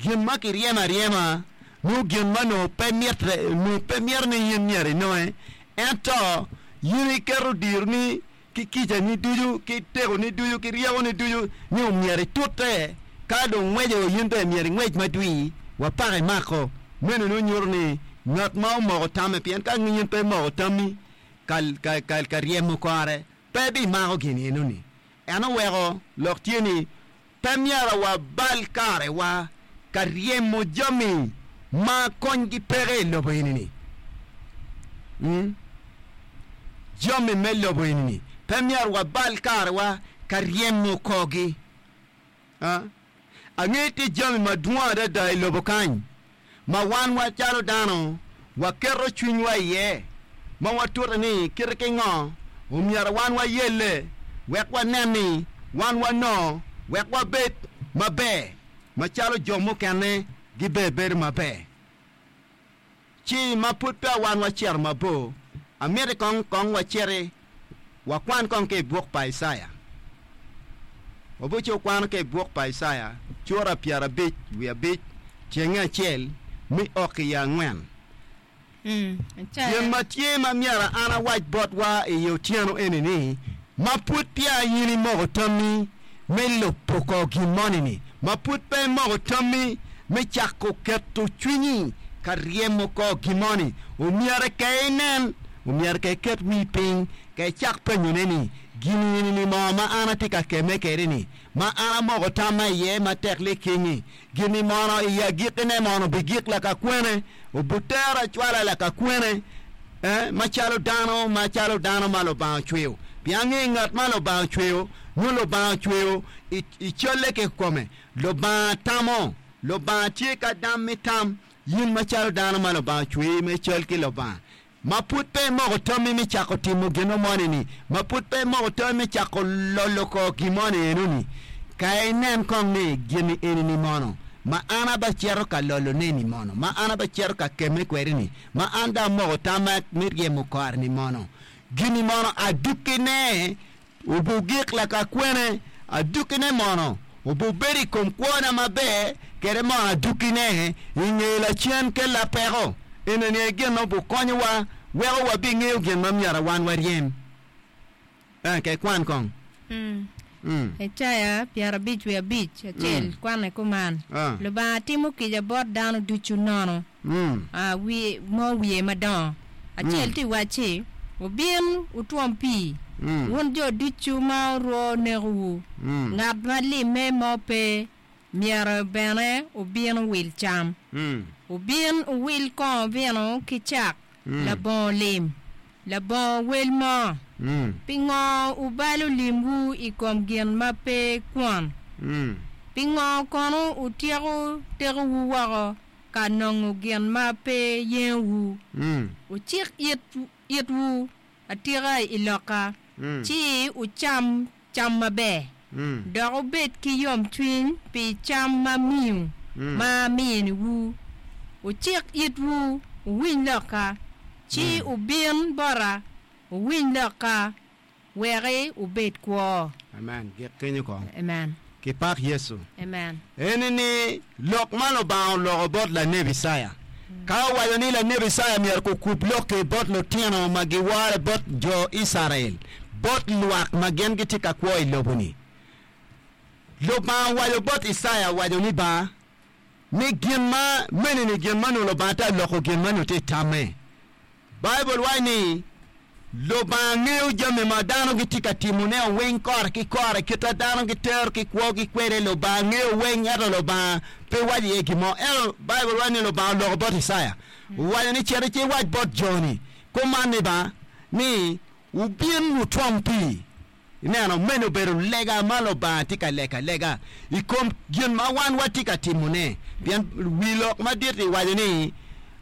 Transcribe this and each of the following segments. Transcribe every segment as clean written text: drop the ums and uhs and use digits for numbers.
Gin ma kiryemo aryema nongo gin ma onongo pe mitte, onongo pe mito ni in myero inonge, ento in iketo dironi ki kicani ducu, ki tekoni ducu, ki ryekoni ducu ni omyero itute, ka dong ngweco in bene myero ingwec madwir wa paka imako. Meno nongo nyuto ni ngat ma omoko tamme, pien ka in pe imoko tammi ka ryemo kore, pe bimako gin enoni. En oweko lok tye ni, Pe myero wabal karewa ka ryemo jami ma konygi peke i lobo eni-ni. Jami me lobo eni-ni pe myero wabal karewa ka ryemo korgi. Angeyo tye jami madwong adada i lobo kany ma wan macalo dano waketo cwinywa iye, ma watute ni kite ki ngo omyero wan wayelle wek wanen ni wan wanongo wek wabed maber macalo jo mukene gibebedo maber. Ci ma pud peya wan wacito mabor, amiti kong kong waciti wakwan kong ki i buk pa Icaya. Wabuco kwano ki i buk pa Icaya cura 55 tyenge acel me ok i angwen. Gin ma tye ma myero an awac botwa i otyeno eni ni, ma pud peya in imoko tammi me lubo kor gin moni-ni, ma pud pe imoko tammi me cako keto cwinyi ka ryemo kor gin moni, omyero ka inen, omyero ka iket wii piny, ka icak penyone ni, 'Gin eni-ni mo ma an atye ka kemme kwede-ni, ma an amoko tamma iye matek liking-ngi, Gin-ni mono i agikkine mono obigik lakakwene, obutera acwala lakakwene, eh, macalo dano, macalo dano ma Lubanga ocweyo? Pien angeyo ngat ma Lubanga ocweyo, nyo Lubanga ocweyo i, i calle kikome. Lubanga tamo. Lubanga tye ka dam me tam. In macalo dano ma Lubanga ocweyi me cal ki Lubanga, Ma pud pe imoko tammi me cako timo gin moni-ni, ma pud pe imoko tammi me cako lolo kor gin moni eno-ni, ka inen kong ni gin-ni eni-ni mono ma an abacito ka lolone-ni mono, ma an abacito ka kemme kwede-ni, ma an dong amoko tamma me ryemo kore-ni mono, gin-ni mono adukkine Obugik lakakwene, adukkine mono obubedo i kom kwona maber kede mono adukkine i nge lacen kella peko? Enoni aye gin ma obukonyowa weko wabingeyo gin ma myero wan waryem. Eh, ke kwan kong. Mm. Icaya 55 acel kwanne kuman, Ah. Lubanga timo kica bot dano ducu nono. Mm. Ah, wi mo wiye madongo acel tye wacci, Wubin wutwom pii, wun jo ducu ma orwo nekowu, ngat ma limme mo pe myero bene obin owil cam. Wubin wuwil kongo vino ki cak labongo lim, labongo wel mo. Pingo wubalo limwu i kom gin ma pe kwon? Pingo kono wutyeko tekowu woko ka nongo gin ma pe yengowu. Wucik itwu atika i lokka, ci wucam cam maber, dok wubed ki yomcwiny pi cam ma miyo ma aminiwu. Wucik itwu wuwiny lokka, ci wubin bota wuwiny lokka. Weki wubed kwo. Amen. Gik kenyo kong. Amen. Kipak Yecu. Amen. Eni ni lok ma Lubanga oloko bot lanebi Icaya. Ka owaco ni lanebi Icaya myero kukub lok-ki bot lutino ma giwore bot jo Icrael, bot lwak ma gin gitye ka kwo i lobo-ni. Lubanga owaco bot Icaya owaco ni ba, ni gin ma meni ni gin ma onongo Lubanga tye ka loko gin ma onongo tye i tamme. Baibul waco ni, Lubanga ngeyo jami ma dano gitye ka timone weng kore ki kore, kit ma dano gitero ki kwogi kwede, Lubanga ngeyo weng, ento Lubanga pe waco iye gin mo. Ento Baibul waco ni Lubanga oloko bot Icaya, owaco ni, Cit iwac bot jo-ni kuman ni ba, ni, 'Wubin wutwom pii. Ineno, meno obedo lega ma Lubanga tye ka lego alega i kom gin ma wan watye ka timone. Pien wi lok madit-ti waco ni,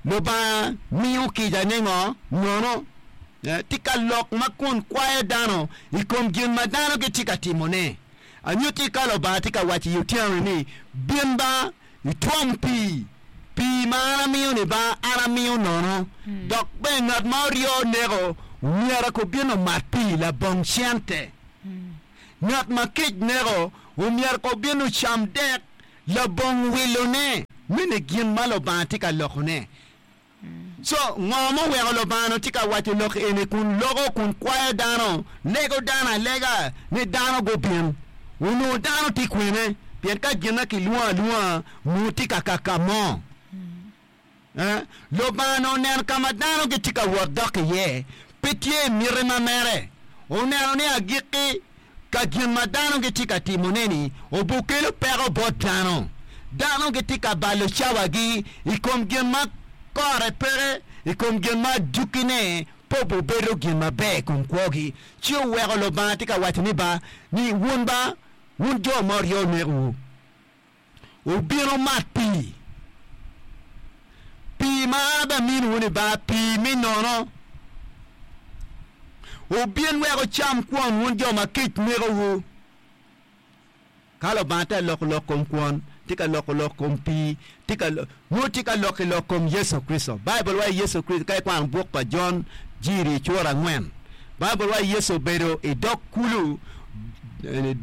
Lubanga miyo kica ningo? Nono. Tye ka lok ma kun kwayo dano i kom gin ma dano gitye ka timone. Anyutti ka Lubanga tye ka waco i otyeno-ni ni, Bin ba, itwom pii, pii ma an amiyo-ni ba an amiyo nono, dok bene ngat ma oryo neko myero kobin omat pii labong cente. Ngat ma kec neko omyero kobin ocam dek labong wilone. Mene gin ma Lubanga tye ka lokone. Co, ngo ma oweko Lubanga onongo tye ka waco lok eni kun loko kun kwayo dano, lego dano alega ni dano gubin? Onongo dano tye kwene? Pien ka gin ma kilwongo alwonga onongo tye ka kaka mo. Eh, Lubanga onongo oneno ka ma dano gitye ka wot dok iye, pe tye i miti ma mere. Oneno ni agikki ka gin ma dano gitye ka timone-ni obukelo peko bot dano. Dano gitye ka balo cawagi i kom gin ma kore peke, i kom gin ma adukkine pe obubedo gin maber i kom kwogi. Ci oweko Lubanga tye ka waco ni ba, ni, Wun ba, wun jo ma oryo nekowu, wubin wumat pii. Pii ma an abaminiwu-ni ba pii me nono. Wubin wek wucam kwon, wun jo ma kec nekowu. Ka Lubanga tye ka loko lok kom kwon, tye ka loko lok kom pii, tye ka nongo tye ka loko i lok kom Yecu Kricito. Baibul waco Yecu Kricito, ka ikwano buk pa Jon, Jiri cura angwen, Baibul waco Yecu obedo i dog kulu,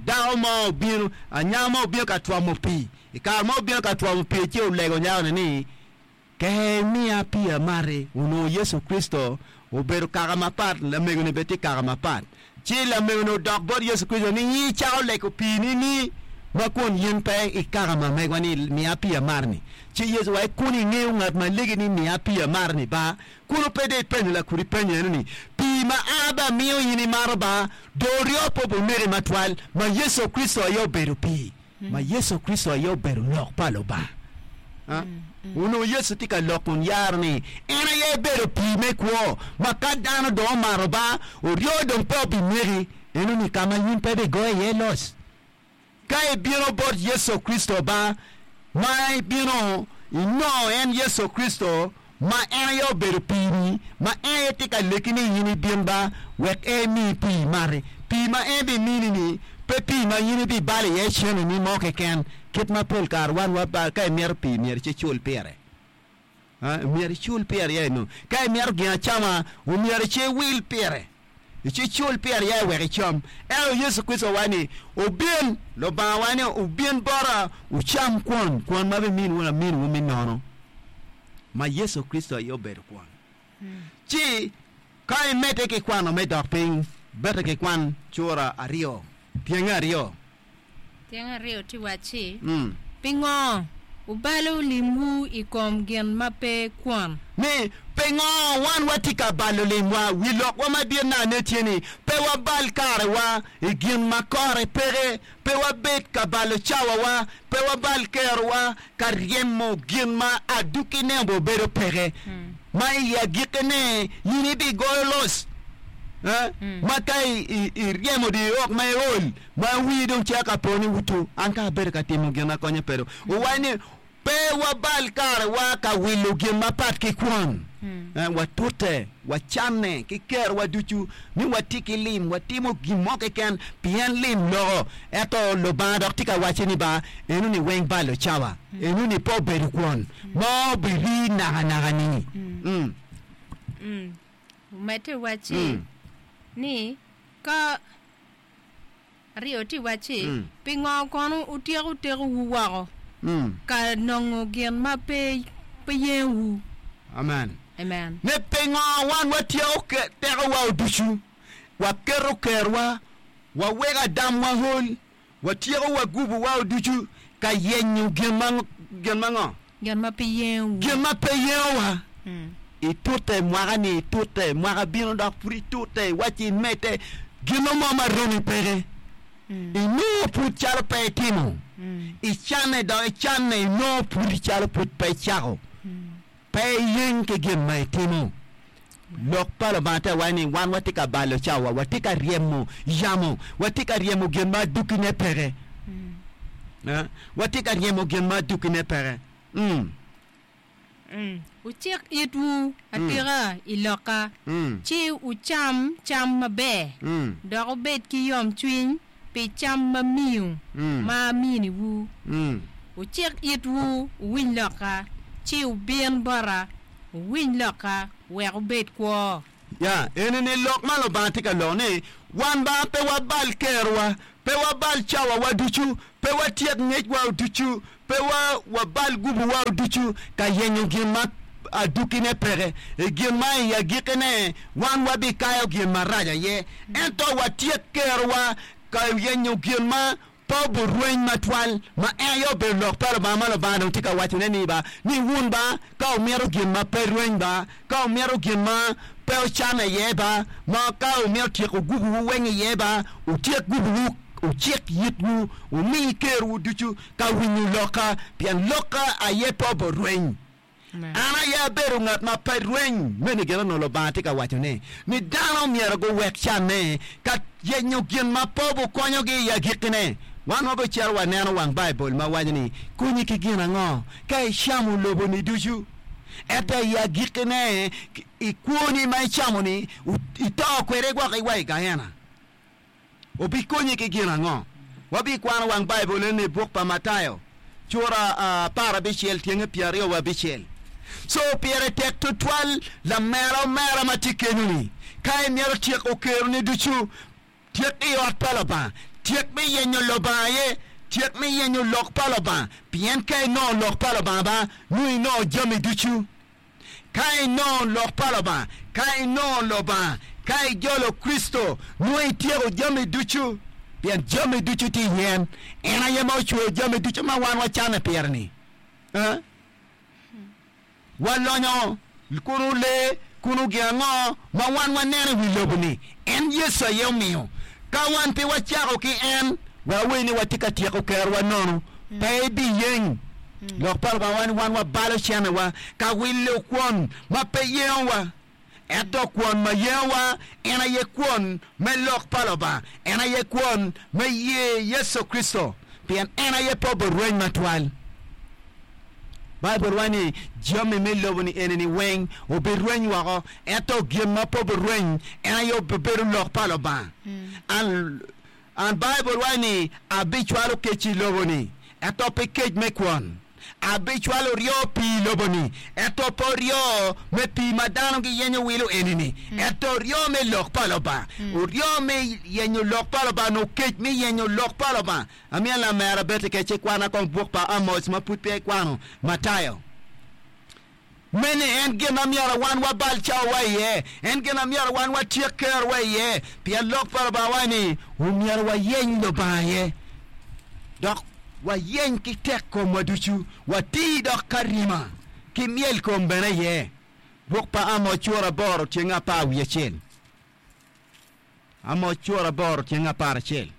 dako mo obino, anyaka mo obino ka twomo pii. I kare ma obino ka twomo pii ci olego nyako-ni ni, Ke imiya pii amati. Onongo Yecu Kricito obedo kaka mapat, lamego-ni bene tye kaka mapat. Ci lamego-ni odok bot Yecu Kricito ni, In icako lego pii-ni ni ma kun in pe i kaka ma megwa ni, 'Miya pii amati-ni'? Ci Yecu owaco, Kun ingeyo ngat ma legi ni, 'Miya pii amati-ni' ba, kunu pe dong ipenyo lakudi penyo eno ni, 'Pii ma an abamiyo in imato ba, dong oryo pe oboneki matwal, ma Yecu Kricito aye obedo pii. Ma Yecu Kricito aye obedo Lok pa Lubanga. Onongo Yecu tye ka lok kun yaro ni en aye ebedo pii me kwo, ma ka dano dong omato ba, oryo dong pe obineki. Enoni ka ma in pe ibigoyo iye loc. Ka ibino bot Yecu Kricito ba, ma ibino inongo en Yecu Kricito ma en aye obedo pii-ni, ma en aye tye ka leki ni in ibin ba wek en emiyi pii imati. Pii ma en bimini-ni pe pii ma in ibibalo iye ceneni mo keken, kit ma pol kare wan wabalo. Ka imito pii myero ci icul pire. Myero icul pire ya inongo. Ka imito gin acama omyero ci iwil pire. Ci cul pire ya wek icam. Ento Yecu Kricito owaco ni, Wubin, Lubanga owaco ni, wubin bota, wucam kwon, kwon ma abiminiwu aminiwu me nono, ma Yecu Kricito aye obedo kwon. Ci ka imedde ki kwano me dok piny, bete ki kwan cura aryo, tyenge aryo. Tyeng aryo tye wacci, Pingo wubalo limwu i kom gin ma pe kwon? Ni, Pingo wan watye ka balo limwa? Wi lokwa madit nane tye ni, pe wabal karewa i gin ma kore peke, pe wabed ka balo cawawa, pe wabal kerowa ka ryemo gin ma adukkine obedo peke, ma i agikkine in ibigoyo loc ma ka iryemo dye ok ma iol. Ma wii dong cito ka po ni wuto, an ka abedo ka timo gin ma konye pe dong. Owaco ni, Pe wabal karewa ka wilo gin mapat ki kwon. Watute, wacanne ki kerowa ducu ni watye ki lim, watimo gin mo keken pien lim loko. Ento Lubanga dok tye ka wacci ni ba, enoni weng balo cawa, enoni pe obedo kwon ma obirii nakanaka-ni. Omedde wacci ni, Ka. Aryo tye wacci, Pingo kono wutyeko tekowu woko ka nongo gin ma pe yengowu? Amen. Amen. Ni pingo wan watyeko tekowa ducu, waketo kerwa, waweko adamwa ol, watyeko wagubowa ducu ka yenyo gin ma gin ma ngo? Gin ma pe yengowu. Gin ma pe yengowa. Itute mwaka-ni, itute mwaka bino dok pud itute, iwacci imedde, gino mo ma romi peke. Inongo pud calo pe itimo. Icanne dok icanne, inongo pud calo pud pe icako. Pe iyeng ki gin ma itimo. Lok pa Lubanga tye ka waco ni wan watye ka balo cawa, watye ka ryemo yamo, watye ka ryemo gin ma adukkine peke. Watye ka ryemo gin ma adukkine peke. Wucik itwu atika i lokka, ci wucam cam maber, dok wubed ki yomcwiny pi cam ma miyo ma aminiwu. Wucik itwu wuwiny lokka, ci wubin bota, wuwiny lokka wek wubed kwo. Ya, eni-ni lok ma Lubanga tye ka loko ni, Wan ba pe wabal kerowa, Pe wabal cawawa ducu, pe watyek ngecwa ducu, pe wabal gubuwa ducu ka yenyo gin ma adukkine peke. I gin ma i agikkine wan wabikayo gin marac aye, ento watyek kerowa ka yenyo gin ma pe oburweny matwal, ma en aye obedo lok pa Lubanga ma Lubanga dong tye ka wacone ni ba, ni wun ba, ka wumito gin ma pe rweny ba, ka wumito gin ma pe wucan iye ba, ma ka wumito tyeko gubuwu weng iye ba, wutyek gubuwu, wucik yitwu, wumi kerwu ducu ka winyo lokka, pien lokka aye pe oburweny. An aye abedo ngat ma pe rweny. Meno gin onongo Lubanga tye ka wacone, ni dano myero guwek canne ka yenyo gin ma pe obukonyogi i agikkine. Wan wabicito waneno wang Baibul ma waco ni, Konyi ki gin ango ka icamo lobo-ni ducu, ento i agikkine i kwoni ma icamo-ni ito kwede gwok iwa i Geena? Obikonyi ki gin ango? Wabikwano wang Baibul eni i buk pa Matayo, cura 16 tyenge 25. Co pire tek tutwal lamera omera ma tye kenyo-ni, ka imito tyeko keroni ducu, tyek i ot pa Lubanga. Tyek me yenyo Lubanga aye, tyek me yenyo lok pa Lubanga, pien ka inongo lok pa Lubanga ba, nongo inongo jami ducu. Ka inongo Lok pa Lubanga, ka inongo Lubanga, ka ijolo Kricito, nongo ityeko jami ducu, pien jami ducu tye i en. En aye ma ocweyo jami ducu ma wan wacanne pire-ni. Eh? Walonyo kunu lee, kunu gin ango ma wan waneno i wi lobo-ni, en Yecu aye omiyo. Ka wan pe wacako ki en, wek awer ni watye ka tyeko kerowa nono, pe ibiyeng. Lok pa Lubanga waco ni wan wabalo cenewa ka wilo kwon ma pe yengowa. Ento kwon ma yengowa en aye kwon me lok pa Lubanga, en aye kwon me ye Yecu Kricito, pien en aye pe oberweny matwal. Baibul waco ni jami me lobo-ni eni-ni weng obirweny woko, ento gin ma pe obirweny en aye obibedo lok pa Lubanga. An Baibul waco ni, Abicwalo kec i lobo-ni, ento pe kec me kwon. Abicwalo oryo pii i lobo-ni, ento pe oryo me pii ma dano giyenyo wilo eni-ni, ento oryo me lok pa Lubanga. Oryo me yenyo lok pa Lubanga nongo kec me yenyo lok pa Lubanga. Amiyo lamera beti kec ikwana kong buk pa Amoc ma pud peya ikwano, Matayo. Meno en gin ma myero wan wabal cawawa iye, en gin ma myero wan watyek kerowa iye, pien Lok pa Lubanga waco ni, Omyero wayeny Lubanga aye, dok wayeny ki tek komwa ducu, wati dok ka rima ki myelkom bene iye. Buk pa Amoc cura aboro tyeng apar wiye acel. Amoc cura aboro tyeng 11.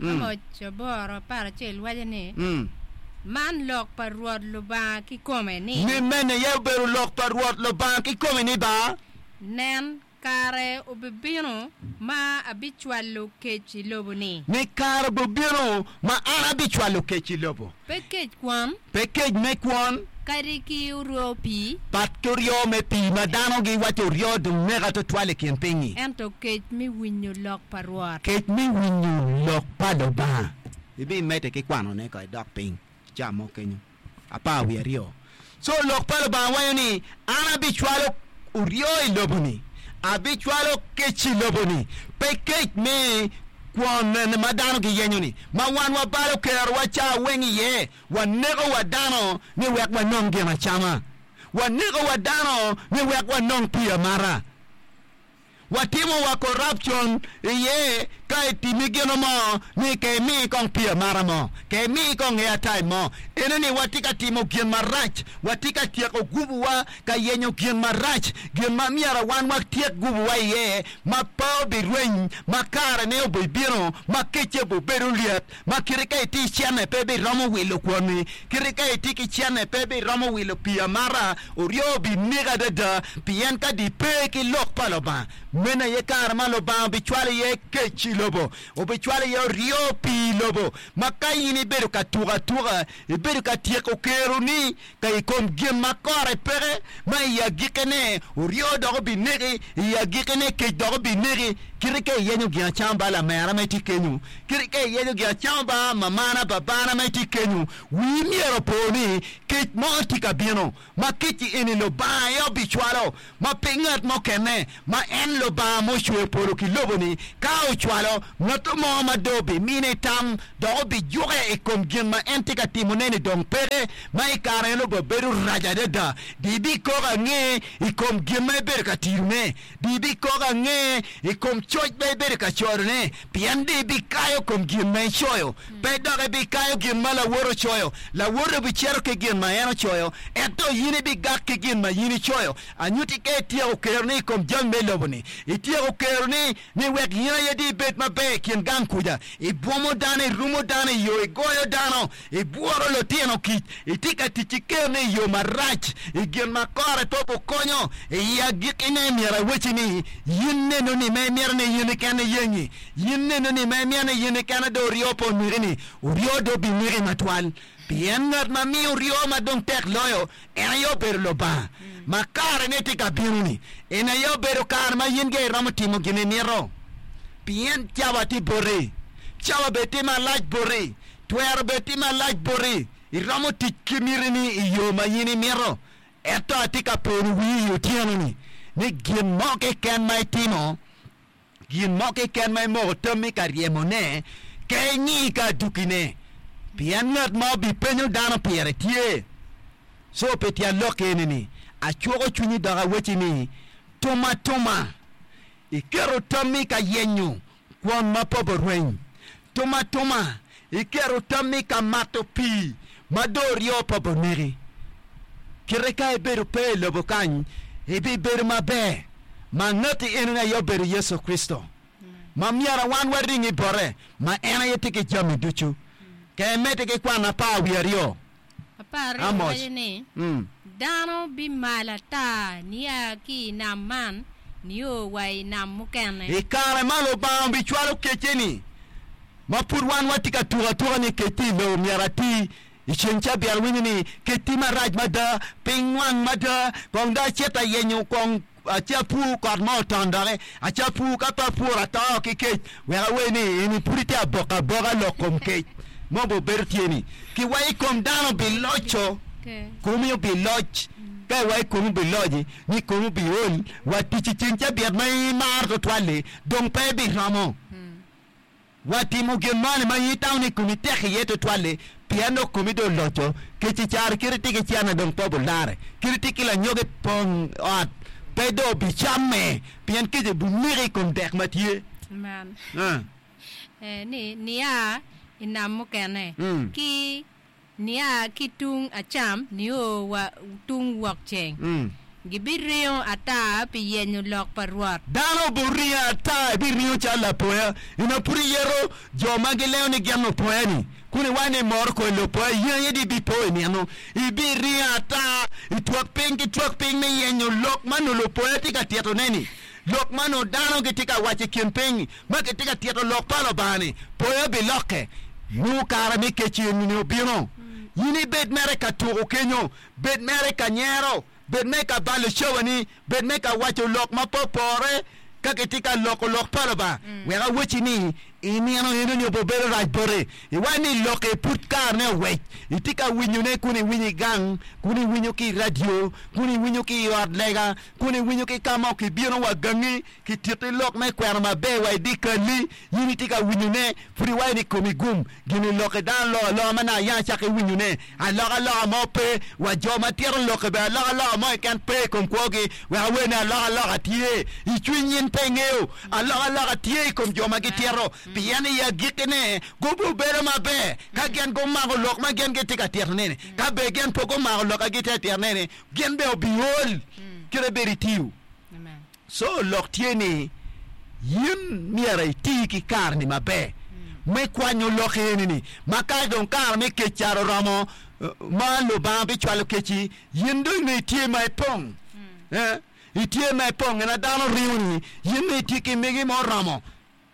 Amoc aboro 11 waco ni, Man lok pa Rwot Lubanga kikome ni. Ni mene aye obedo lok pa Rwot Lubanga kikome ni ba? Nen, kare obibino ma abicwalo kec i lobo-ni. Ni kare obibino ma an abicwalo kec i lobo. Pe kec kwon. Pe kec me kwon. Kadi ki oryo pii. Pat ki oryo me pii ma dano giwaco oryo dong neka twatwal i kin piny-nyi. Ento kec me winyo lok pa Rwot. Kec me winyo lok pa Lubanga. Ibimedde ki kwanone ka idok piny ca mo kenyo. 12. Co lok pa Lubanga waco ni, An abicwalo oryo i lobo-ni, abicwalo kec i lobo-ni, pe kec me kwon ma dano giyenyo-ni, ma wan wabalo kerowa ca weng iye, waneko wa dano ni wek wanong gin acama, waneko wa dano ni wek wanong pii amata. Watimo wa corruption iye ka itimi gino mo ni ke imi kong pii amata mo, ke imi kong airtime mo. Ene ni watye ka timo gin marac, watye ka tyeko gubu wa ka yenyo gin marac, gin ma myero wan watyek gubu wa iye ma pe obirweny, ma kare ne obibino ma kecce obibedo lyet, ma kite ka itye ki cene pe biromo wilo kwonni, kite ka itye ki cene pe biromo wilo pii amata, oryo obineki adada, pien ka di pe ki lok pa Lubanga, meno aye kare ma Lubanga obicwalo iye kec i lobo, obicwalo iye oryo pii i lobo, ma ka in ibedo ka tuko atuka, ibedo ka tyeko keroni ka i kom gin ma kore peke, ma i agikkine oryo dok obineki, i agikkine kec dok obineki. Kite ka iyenyo gin acama ba lamera ma itye kenyo, kite ka iyenyo gin acama ba mamana, babana ma itye kenyo, wii myero opo ni kec mo tye ka bino, ma kec-ci eni Lubanga aye obicwalo, ma pe ngat mo kene, ma en Lubanga ma ocweyo polo ki lobo-ni. Ka ocwalo ngat mo ma dong obimine tam dok obijuke i kom gin ma en tye ka timone-ni dong peke, ma i kare meno obedo rac adada, dong ibikoko ange i kom gin ma ibedo ka tiyone. Dong ibikoko ange i kom coc ma ibedo ka coyone, pien dong ibikayo kom gin ma icoyo, pe dok ibikayo gin ma lawote ocoyo. Lawote obicito ki gin ma en ocoyo, ento in ibigak ki gin ma in icoyo. Anyutti ka ityeko keroni i kom jami me lobo-ni, ityeko keroni ni wek in aye dong ibed maber i kin gang kuca, ibwomo dano, irumo dano i yo, igoyo dano, Ibwoto lutino kic, itye ka tic ki keroni i yo marac, i gin ma kore pe obukonyo. I agikkine myero awacci ni, in neno ni ma imito ni in keken iyengi, in neno ni ma imito ni in keken dong oryo pe oneki-ni, oryo dong obineki matwal. Pien ngat ma miyo oryo ma dong tek loyo, en aye obedo Lubanga. Ma karene tye ka bino-ni, en aye obedo kare ma in gire iromo timo gin imito. Pien cawa tye boti, cawa bene tye malac boti. Twero bed tye malac boti, iromo tic ki mitini i yo ma in imito. Ento atye ka pono wii i otyeno-ni ni gin mo keken ma itimo, gin mo keken ma imoko tammi ka ryemone, ke ingi ka adukine, pien ngat ma obipenyo dano pire tye. Co pi tyen lok eni-ni, acuko cwinyi dok awecci ni, tum atuma, iketo tammi ka yenyo kwon ma pe oborweny. Tum atuma, iketo tammi ka mato pii ma dong oryo pe oboneki. Kite ka ibedo pe i lobo kany, ibibedo maber, ma ngati enoni aye obedo Yecu Kricito, ma myero wan waringi bote, ma en aye tye ki jami ducu. Ka imedde ki kwano 12. 12 Amos. waco ni, Dano bimal ata nia ki i nam man nio wa i nam mukene. I kare ma Lubanga obicwalo kecce-ni, ma pud wan watye ka tuko atuka ni kec tye i lobo myero ati, i ceng cabit awinyo ni kec tye marac mada, piny nwang mada, kong dong acit ayenyo kong Acapur kot mo oton doki, acapur ka pe apuro ato ki kec, wek awer ni eni pud itye aboko aboka lok kom kec mo be obedo tye ni ki wa i kom dano obiloco, komi obiloc, ka iwa i komi obiloci ni komi obiol wa tic i ceng cabit ma in imaro tutwal-li dong pe ibiromo. Watimo gin moni ma in itamo ni komi tek iye tutwal-li, pien dong komi dong oloco, kec i caro kit itye ki cene dong pe obulare, kit itye ki lanyogi pong ot pe dong obicamme, pien kec obineki i kom dek ma tye. Man ni nia i nam mukene, ki Nia ki tung acam nio wa tung wokceng, gibiringo ata pi yenyo lok pa Rwot. Dano obiringo ata, ibiringo calo lapoya. Ina pud iyeto jo ma gilengo ni gin lupoya-ni, kun iwaco ni imoro kodi lupoya, in aye dong ibipo i nino. Ibiringo ata i twak piny ki twak piny me yenyo lok ma nongo lupoya tye ka titone-ni, lok ma nongo dano gitye ka waco i kin piny. Ma kitye ka tito lok pa Lubanga-ni, poya bilokke. Nongo kare me kec eni obino. In ibed mere ka tuko kenyo, bed mere ka nyero, bed mere ka balo cawani, bed mere ka waco lok ma pe opore ka kitye ka loko lok pa Lubanga. Wek awacci ni, i nino enoni obibedo rac boti. Iwaco ni lok-ki pud karene owec. Itye ka winyone kun iwinyo i gang, kun iwinyo ki i radio, kun iwinyo ki i ot lega, kun iwinyo ki ka ma kibino wa gangi. Kititi lok me kwena maber wa i dyekal-li, in itye ka winyone, pud iwaco ni komi gum. Gin-ni lok-ki dano loko aloka ma naka yam acako iwinyone. Alokaloka mo pe, wa jo ma tito lok-ki bene alokaloka mo keken pe i kom kwogi. Wek awer ni alokaloka tye i cwiny in pe ingeyo. Alokaloka tye i kom jo ma gitito, pien i agikkine gubibedo maber ka gin gumako lok ma gin gitye ka titone-ni. Ka bene gin pe gumako lok ma gitye ka titone-ni, gin bene obiol kite bedo itiyo. Co lok tye ni, yin myero iti ki kare-ni maber me kwanyo lok eni-ni, ma ka dong kare me kec caro oromo ma Lubanga bicwalo kec-ci, yin dong inongo itye ma ipong. Itye ma ipong, en a dano ringo-ni, yin nongo itye ki megi ma oromo.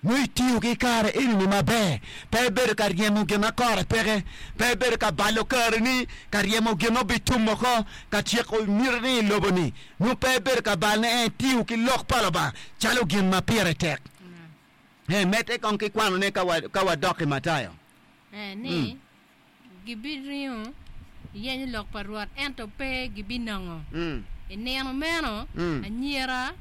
Nongo itiyo ki kare eni-ni maber, pe ibedo ka ryemo gin ma kore peke, pe ibedo ka balo kareni ka ryemo gin ma obitum woko, ka tyeko mitini i lobo-ni. Nongo pe ibedo ka balone, ento itiyo ki Lok pa Lubanga calo gin ma pire tek. Eh, medde kong ki kwanone ka wa, ka wadok i Matayo. Eh, ni, Gibiringo yenyo lok pa Rwot, ento pe gibinongo. I nino meno, anyira,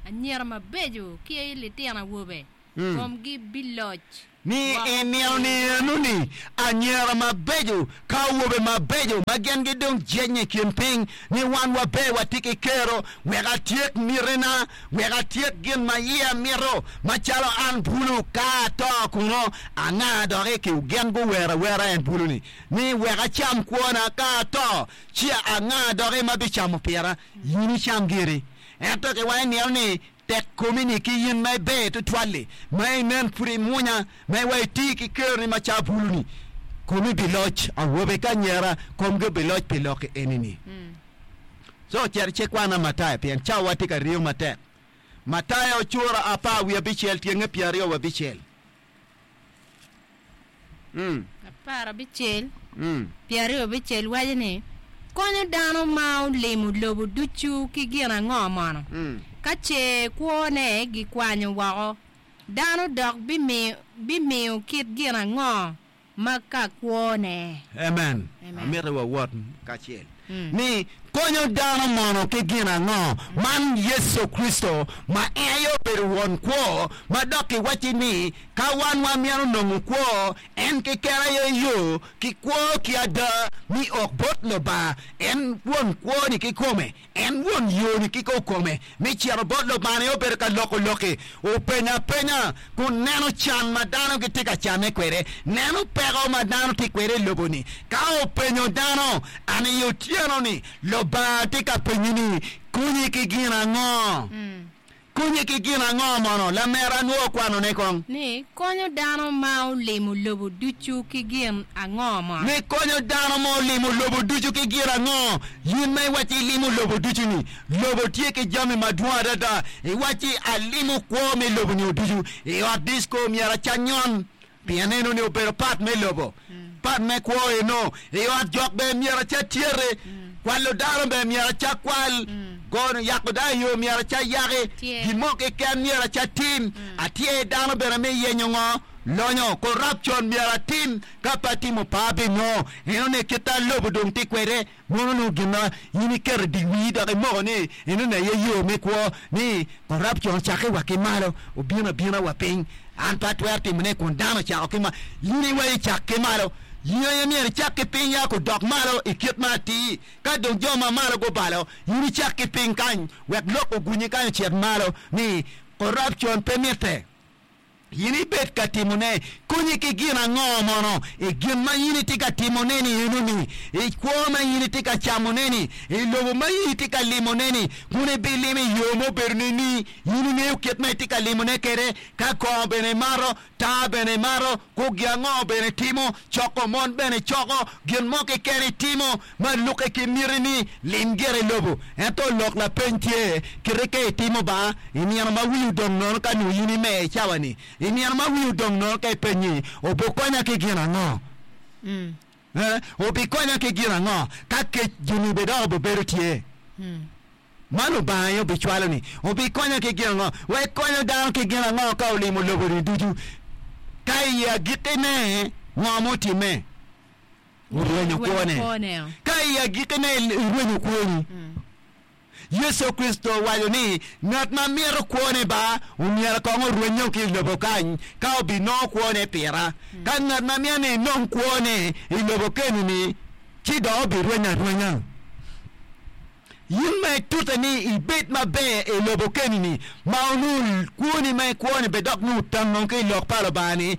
anyira mabeco ki litino awobe komgi biloc Ni woko i nino piny. ni eno-ni, anyira mabeco ka awobe mabeco ma gin gidong jennye i kin piny, ni wan waber watye ki kero, wek atyek mitina, wek atyek gin ma iya mito, macalo an bulu, ka ato kuno, anga doki ki gin guwero awera en bulu-ni, ni wek acam kwona, ka ato, ci anga doki ma bicamo pira? In icam giri. Ento kiwaco nino ni, Tek komi-ni ki in ma iber tutwal-li, ma inen pud imwonya, ma iwa iti ki keroni macalo bulu-ni, komi biloc, awobe ki anyira komgi obiloc pi lokki eni-ni. Co cit icikwana Matayo, pien cawawa tye ka ringo matek. Matayo cura apar wiye abicel tyenge pyeraryo wa abicel. 16 26 waco ni, Konyo dano ma olimo lobo ducu ki gin ango mono? Ka ce kwone gikwanyo woko, dano dok bimiyo kit gin ango ma ka kwone? Amen. Amito wawot kacel. Ni konyo dano mono ki gin ango? Man Yecu Kricito ma en aye obedo Won Kwo, ma dok kiwacci ni ka wan wamito nongo kwo, en keken aye yo ki kwo ki ada mi ok bot Lubanga. En Won Kwo-ni kikome. En won yo-ni kikokome me cito bot Lubanga aye obedo ka loko lok-ki. Openyo apenya kun neno can ma dano gitye ka canne kwede, neno peko ma dano tye kwede i lobo-ni. Ka openyo dano, An i otyeno-ni, Lubanga tye ka penyi ni, 'Konyi ki gin ango? Konye ki gin ango mono? Lamera nwo kwanone kong. Ni, Konyo dano ma olimo lobo ducu ki gin ango mono? Ni, Konyo dano ma olimo lobo ducu ki gin ango? In ma iwacci ilimo lobo ducu-ni, lobo tye ki jami madwong adada. Iwacci, Alimo kwo me lobo-ni ducu. I ot disco myero acanyon. Pien eno-ni obedo pat me lobo, pat me kwo eno. I ot jok bene myero acak tyeti, kwalo dano bene myero acak kwal, gono yako dano i yo myero acak yaki, gin mo keken myero acak tim, atyer dano bene me yenyo ngo? Lonyo, corruption myero atim, ka pe atimo pe abinongo. Eno-ni kit ma lobo dong tye kwede. Mono nongo gin ma in iketo i dye wii dok imoko ni enoni aye yo me kwo, ni corruption ocakke wa ki malo obino abina wa piny. An pe atwero timone kun dano ocako ki malo. In iwaco icak ki malo. In aye myero icak ki piny ya kudok malo i kit ma atir. Ka dong jo ma malo gubalo, in icak ki piny kany wek lok ogunyi kany ocit malo ni corruption pe mitte. In ibed ka timone konyi ki gin ango mono? I gin ma in itye ka timone-ni enoni, i kwo ma in itye ka camone-ni, i lobo ma in itye ka limone-ni, kun ibilimo i yo ma obedo nini? In ingeyo kit ma itye ka limone kwede, ka kongo bene imato, taa bene imato, kugi ango bene itimo, coko mon bene icoko, gin mo keken itimo ma lukke ki mitini, lim gire i lobo. Ento lok lapeny tye, kite ka itimo ba, I nino ma wii odong nono ka nongo in imer i cawa-ni, i nino ma wii odong nono ka ipenyi, Obikonya ki gin ango? Eh, obikonya ki gin ango? Ka kec joni bene dok obibedo tye, ma Lubanga aye obicwalo-ni, obikonya ki gin ango? Wek konyo dano ki gin ango ka olimo lobo-ni ducu? Ka i agikkine, ngo mutimme? Orwenyo kwone. Ka i agikkine irwenyo kwoni. Yecu Kricito owaco ni, Ngat ma mito kwone ba, omyero kong orwenyo ki i lobo kany, ka obinongo kwone pira. Ka ngat ma mito ni enong kwone i lobo keni-ni, ci dok obirwenyo arwenya. In ma itute ni ibed maber i lobo keni-ni, ma onongo kwoni ma ikwo-ni bene dok nongo otango ki i Lok pa Lubanga-ni,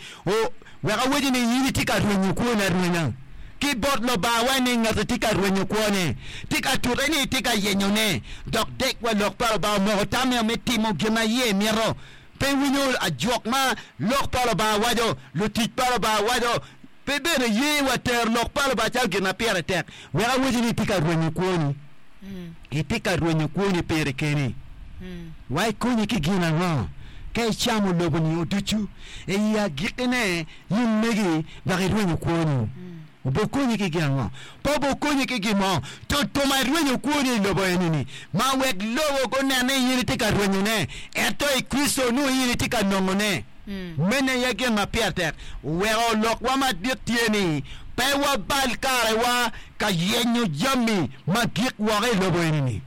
Wek awaci ni in itye ka rwenyo kwoni arwenya ki bot Lubanga wa ni ngati tye ka rwenyo kwone, tye ka tute ni etye ka yenyone, dok dek wa lok pa Lubanga omoko tamme me timo gin ma iye mito. Pe winyo ajwok ma lok pa Lubanga waco, lutic pa Lubanga waco, pe bene ye wa tero lok pa Lubanga calo gin ma pire tek. Wek awaci ni itye ka rwenyo kwoni. Itye ka rwenyo kwoni piri keni. Wa ikonyi ki gin ango ka icamo lobo-ni ducu? I agikkine, in megi dok irwenyo kwoni. Obokonyi ki gin ango? Pe obokonyi ki gin mo. Tutuma irwenyo kwoni i lobo eni-ni, ma wek lobo gunen ni in itye ka rwenyone, ento i Kricito nongo in itye ka nongone. Meno aye gin ma pire tek. Oweko lokwa madit tye ni pe wabal karewa ka yenyo jami ma gik woko i lobo eni-ni.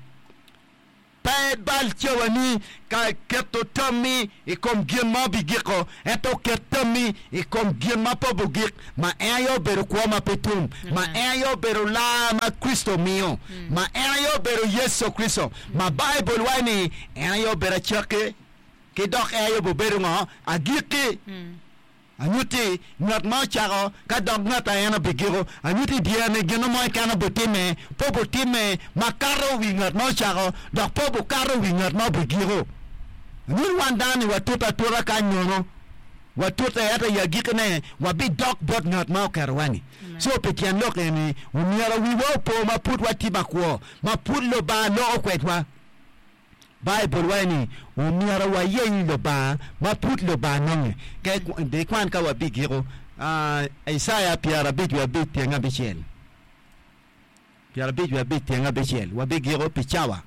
Pe ibal cawani ka keto tammi i kom gin ma obigiko, ento ket tammi i kom gin ma pe obigik, ma en aye obedo kwo ma pe tum, ma en aye obedo lar ma Kricito omiyo, ma en aye obedo Yecu Kricito, ma Baibul waco ni en aye obedo acakki ki dok en aye obibedo ngo? Agikki. Anyutti ngat ma ocako ka dok ngat a en obigiko. Anyutti i dyere-ni gin mo keken obitimme, pe obitimme makato wi ngat ma ocako, dok pe obukato wi ngat ma obigiko. Anyut wan dano-ni watute atuta kany nono, watute ento i agikkine wabidok bot ngat ma oketowa-ni. Co pi tyen lok eni, omyero wiwa opo ma pud watye makwo, ma pud Lubanga loko kwedwa. Baibul waco ni omyero wayeny Lubanga ma pud Lubanga nonge. Ka ikwan ka wabigiko, Icaya 55 tyeng abicel, 55 tyeng abicel, wabigiko pi cawa.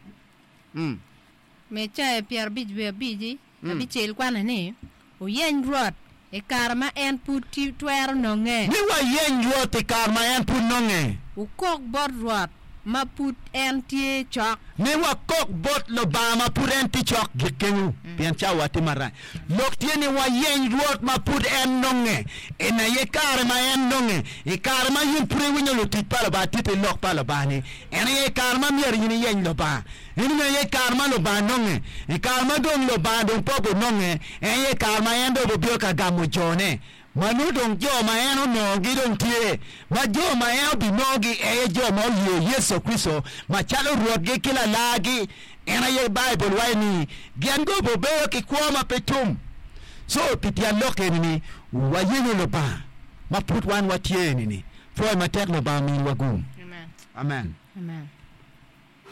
Me Icaya 55 abicel kwane ni, Wuyeny Rwot i kare ma en pud twero nonge. Ni wayeny Rwot i kare ma en pud nonge. Wukok bot Rwot ma pud en tye cok. Ni wakok bot Lubanga ma pud en tye cok. Gik kenyu, pien cawa tye marac. Lok tye ni wayeny Rwot ma pud en nonge. En aye kare ma en nonge. I kare ma in pud iwinyo lutic pa Lubanga titi lok pa Lubanga-ni, en aye kare ma myero in iyeny Lubanga. Eni aye kare ma Lubanga nonge. I kare ma dong Lubanga dong pe obinonge, en aye kare ma en dong obibino ka gamo jone. Ma nongo dong jo ma en onongogi dong tye, ma jo ma en obinongogi aye jo ma oye Yecu Kricito macalo Rwotgi ki Lalargi. En aye Baibul waco ni gin gubibedo ki kwo ma pe tum. Co pi tyen lok eni-ni, wayenyo Lubanga ma pud wan watye eni-ni. Pwoyo matek Lubanga ominiwa gum. Amen. Amen.